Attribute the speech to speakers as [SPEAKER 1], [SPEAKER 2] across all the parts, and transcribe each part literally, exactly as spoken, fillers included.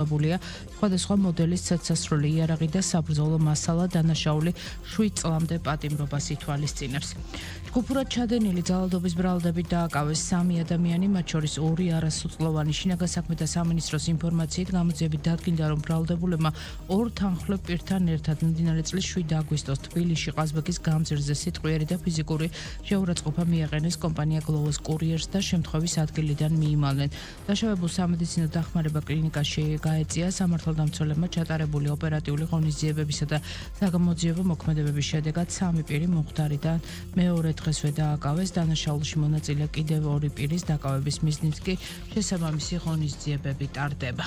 [SPEAKER 1] გულია სხვადასხვა მოდელის ცეცხლსასროლი იარაღი და საბრძოლო მასალა დანაშაული შვიდ წლამდე პატიმრობას ითვალისწინებს. ჯგუფურად ჩადენილი ძალადობის ბრალდებით დააკავეს სამი ადამიანი, მათ შორის ორი არასოწყლოვანი. შინაგან საქმეთა სამინისტროს ინფორმაციით გამოძიებით დადგინდა, რომ ბრალდებულებმა ორ თანხმლებ პირთან ერთად მიმდინარე წლის შვიდ აგვისტოს თბილისში ყაზბეგის გამზირზე სიტყვიერი და ფიზიკური შეურაცხყოფა მიაყენეს კომპანია გლოვოს კურიერს და შემთხვევის ადგილიდან მიიმალნენ. დაშავებულ სამედიცინო დახმარება კლინიკაში გაეწია. სამართალდამცველებმა ჩატარებული ოპერატიული ღონისძიებებისა და საგამოძიებო მოქმედებების შედეგად სამი პირი მომხდარიდან მეორე დღესვე დააკავეს. დანაშაულში მონაწილე კიდევ ორი პირის დაკავების მიზნით კი შესაბამისი ღონისძიებები ტარდება.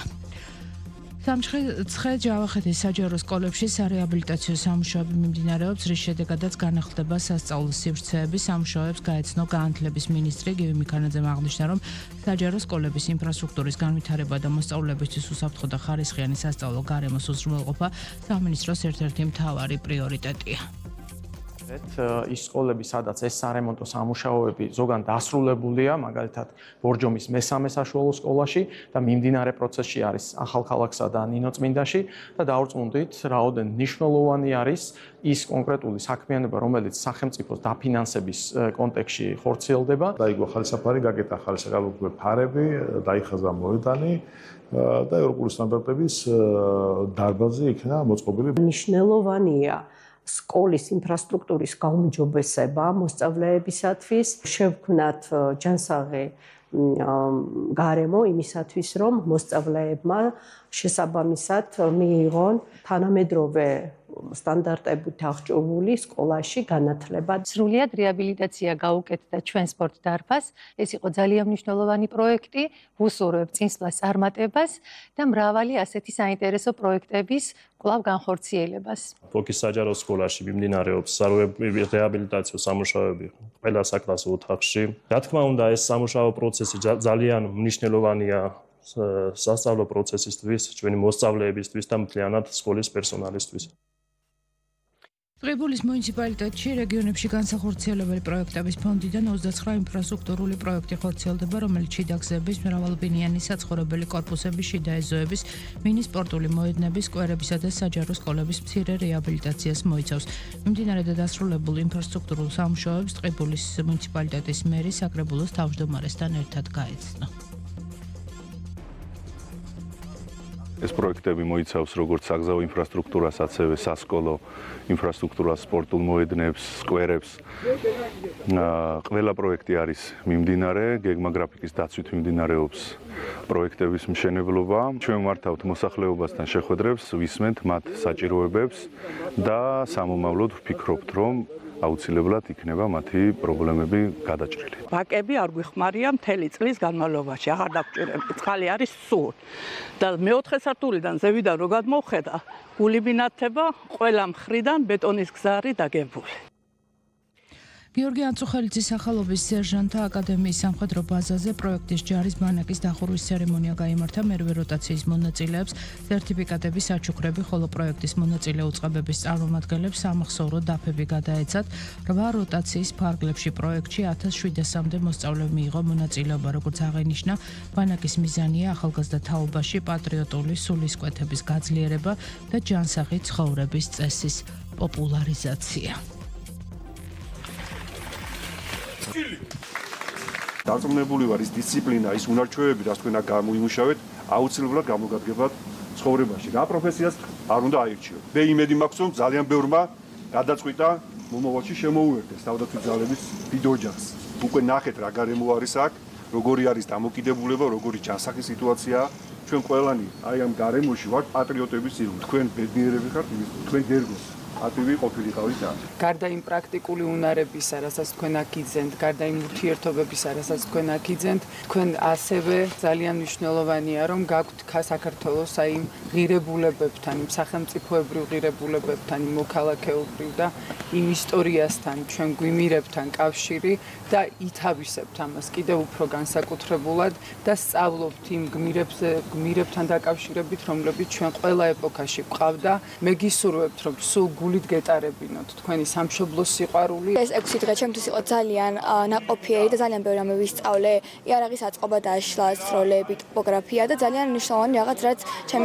[SPEAKER 1] სამცხე ჯავახეთის საჯარო სკოლებში სარეაბილიტაციო სამუშაოები მიმდინარეობს, რის შედეგადაც განახლდება სასწავლო სივრცეები. სამუშაოებს გაეცნო განათლების მინისტრი გივი მიქანაძემ აღნიშნა, რომ საჯარო სკოლების ინფრასტრუქტურის განვითარება და მოსწავლეებისთვის უსაფრთხო და ხარისხიანი სასწავლო გარემოს უზრუნველყოფა სამინისტროს ერთ-ერთი მთავარი პრიორიტეტია.
[SPEAKER 2] ის სკოლები, სადაც ეს სარემონტო სამუშაოები ზოგან დასრულებულია, მაგალითად ბორჯომის მესამე საშუალო სკოლაში და მიმდინარე პროცესში არის ახალქალაქსა და ნინოწმინდაში და დავრწმუნდით, რაოდენ მნიშვნელოვანი არის ის კონკრეტული საქმიანობა, რომელიც სახელმწიფოს დაფინანსების კონტექსტში ხორციელდება.
[SPEAKER 3] დაიგო ხალისაფარი, გაკეთა ხალისაგალობლე ფარები, დაიხაზა მოედანი და ევროპული სტანდარტების დარბაზი იქნა მოწყობილი.
[SPEAKER 4] მნიშვნელოვანია სკოლის ინფრასტრუქტურის გაუმჯობესება მოსწავლეებისათვის, შევქმნათ ჯანსაღი გარემო იმისათვის, რომ მოსწავლეებმა შესაბამისად მიიღონ თანამედროვე სტანდარტებით აღჭურვილი სკოლაში განათლება.
[SPEAKER 5] სრულიად რეაბილიტაცია გაუკეთდა ჩვენ სპორტ დარბაზს. ეს იყო ძალიან მნიშვნელოვანი პროექტი, ვუსურვებ წინსვლას წარმატებას და მრავალი ასეთი საინტერესო პროექტების კვლავ განხორციელებას.
[SPEAKER 6] ფოკის საჯარო სკოლაში მიმდინარეობს რეაბილიტაციო სამუშაოები ყველა საკლასო ოთახში. რა თქმა უნდა, ეს სამუშაო პროცესი ძალიან მნიშვნელოვანია სასწავლო პროცესისთვის, ჩვენი მოსწავლეებისთვის და მთლიანად სკოლის პერსონალისთვის.
[SPEAKER 1] ტყიბულის მუნიციპალიტეტში რეგიონებში განსახორციელებელი პროექტების ფონდიდან ოცდაცხრა ინფრასტრუქტურული პროექტი ხორციელდება, რომელიც შიდა გზების, მრავალბინიანი საცხოვრებელი კორპუსების, შიდა ეზოების, მინის სპორტული მოედნების, სკვერებისა და საჯარო სკოლების მცირე რეაბილიტაციას მოიცავს. მიმდინარე და დასრულებულ ინფრასტრუქტურულ სამუშაოებს ტყიბულის მუნიციპალიტეტის მერი საკრებულოს თავმჯდომარესთან ერთად გაეცნო.
[SPEAKER 3] ეს პროექტები მოიცავს როგორც საგზაო ინფრასტრუქტურას, ასევე სასკოლო ინფრასტრუქტურას, სპორტულ მოედნებს, სკვერებს. ყველა პროექტი არის მიმდინარე, გეგმაგრაფიკის დაცვით მიმდინარეობს პროექტების მშენებლობა. ჩვენ მართავთ მოსახლეობასთან შეხვედრებს, ვისმენთ მათ საჭიროებებს და სამომავლოდ ვფიქრობთ, რომ აუცილებლად იქნება მათი პრობლემები გადაჭრილი.
[SPEAKER 7] ბაკები არ გვიხმარია მთელი წლის განმავლობაში, აღარ დაგჭირები. წყალი არის სულ. და მეოთხე სართულიდან ზევიდან რო გადმოვხედა, გული მინათება, ყველა მხრიდან ბეტონის გზა არის დაგებული.
[SPEAKER 1] გიორგი ანწუხელიძის სახელობის სერჟანტთა აკადემიის სამხედრო ბაზაზე პროექტის ჯარის ბანაკის დახურვის ცერემონია გაიმართა. მერვე როტაციის მონაწილეებს სერტიფიკატების საჩუქრები, ხოლო პროექტის მონაწილე უწყებების წარმომადგენლებს სამახსოვრო დაფები გადაეცათ. რვა როტაციის ფარგლებში პროექტში ათას შვიდასამდე მოსწავლე მიიღო მონაწილეობა. როგორც აღინიშნა, ბანაკის მიზანია ახალგაზრდა თაობაში პატრიოტული სულისკვეთების გაძლიერება და ჯანსაღი ცხოვრების წესის პოპულარიზაცია.
[SPEAKER 8] დარწმუნებული ვარ, ის დისციპლინა, ის უნარჩვევები, რაც თქვენ გამოიმუშავეთ, აუცილებლად გამოგადგებათ ცხოვრებაში. რა პროფესიას არ უნდა აირჩიოთ. მე იმედი მაქვს, რომ ძალიან ბევრმა გადაწყვიტა მომავალში შემოუერთდეს თავდაცვის ძალების დიდ ოჯახს. უკვე ნახეთ რა გარემო არის აქ, როგორი არის დამოკიდებულება, როგორი ჯანსაღი სიტუაციაა. ჩვენ ყველანი აი ამ გარემოში ვართ პატრიოტების ირგვლივ. თქვენ ბედნიერები ხართ, თქვენ დერგოს. ატივი ყოფილიყავით ამ.
[SPEAKER 9] გარდა იმ პრაქტიკული უნარებისა, რასაც თქვენ აქ იძენთ, გარდა იმ ურთიერთობებისა, რასაც თქვენ აქ იძენთ, თქვენ ასევე ძალიან მნიშვნელოვანია, რომ გაქვთ საქართველოს აი იმ ღირებულებებთან, იმ სახელმწიფოებრივ ღირებულებებთან, იმ მოქალაქეობრივ და იმ ისტორიასთან, ჩვენ გვიმირებთან კავშირი და ითავისებთ ამას კიდევ უფრო განსაკუთრებულად და სწავლობთ იმ გმირებზე, გმირებთან დაკავშირებით, რომლებიც ჩვენ ყველა ეპოქაში გვყავდა. მე გისურვებთ, რომ სულ გულით გეტარებინოთ თქვენი სამშობლოს სიყვარული.
[SPEAKER 10] ეს ექვსი დღე ჩემთვის იყო ძალიან ნაყოფიერი და ძალიან ბევრი რამე ვისწავლე. იარაღის აწყობა, დაშლა, სროლები, ტოპოგრაფია და ძალიან მნიშვნელოვანი რაღაც, რაც ჩემი